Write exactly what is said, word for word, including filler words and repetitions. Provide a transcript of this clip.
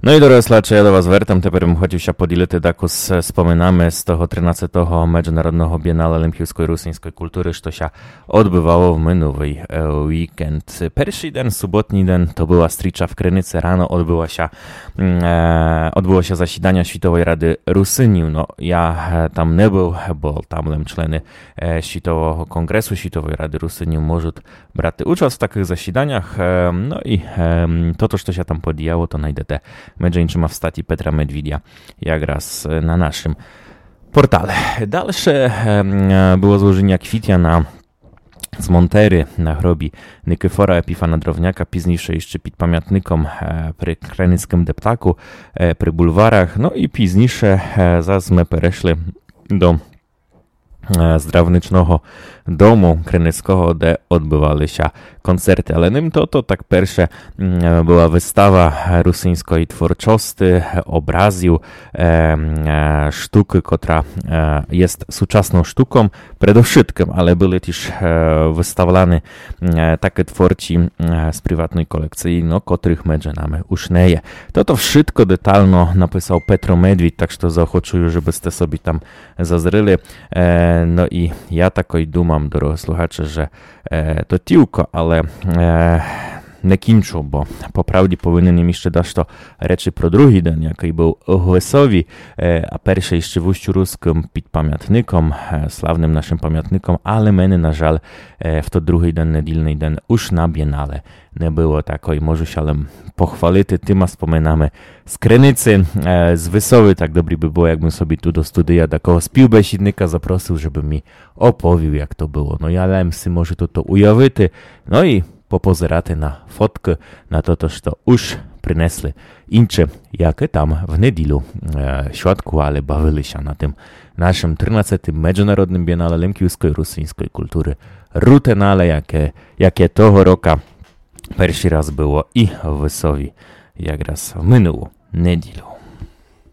Но і, дорогы слухаче, я до вас вертам. Тепер бым хотів ся поділити дакус споминами з того тринадцятого Меджонародного бієнале лемківской русиньской културы, што ся одбывало в минулый, е, вікенд. Першый ден, суботній ден, то была стріча в Криниці. Рано одбыла ся, м, е, одбыла ся засіданя Світовой рады Русинів. Но, я, е, там не был, бо там лем члены, е, Світового конґресу, Світовой рады Русинів можуть брати участь в такых засіданях. Е, но і, е, тото, што ся там подіяло, то найдете, меджі іншыма, в статї Петра Медвідя, якраз, е, на нашым портале. Дальше, е, м, е, было зложеня квітя на цмонтері на гробі Никифора Епіфана Дровняка, пізніше іщы під памятником, е, при Криницькым дептаку, е, при бульварах. Но і пізніше, е, зас мы перешли до, е, здравничного дому Криницького, де одбывали ся концерты. Але ним тото, так перше, м, е, была выстава, е, русиньской творчости, е, образів, е, м, е, штукы, котра, е, єст сучасным штуком, предовшыткым, але были тіж, е, выставланы, м, е, такы творці, м, е, з приватной колекциі, но, котрых меджі нами уж не є. Тото вшытко детално написав Петро Медвідь, так што заохочую, жебы сте собі там зазріли. Е, но і я такой думам, дорогы слухаче, же, е, то тілько, але, е, не кінчу, бо по правді повинен єм іщы дашто речи про другый ден, якый был у Гвисові, е, а перше іщы в Устю Рускым під памятником, е, славным нашым памятником, але мене, на жаль, е, в тот другый ден, недільный ден, уж на бієнале не было. Такой можу ся лем похвалити тыма споминами з Криниці. Е, з Висовы так добрі бы было, якбым собі ту до студія такого співбесідника запросив, жебы мі оповів, як то было. Но, я лем си можу тото уявити, но і попозирати на фоткы, на тото, што уж принесли інші, якы там в неділю, е, святкували, бавили ся на тым нашым тринадцятым Меджонародным бієнале лемківской русиньской културы Рутенале, яке, яке того рока першый раз было і в Висові, якраз в минулу неділю.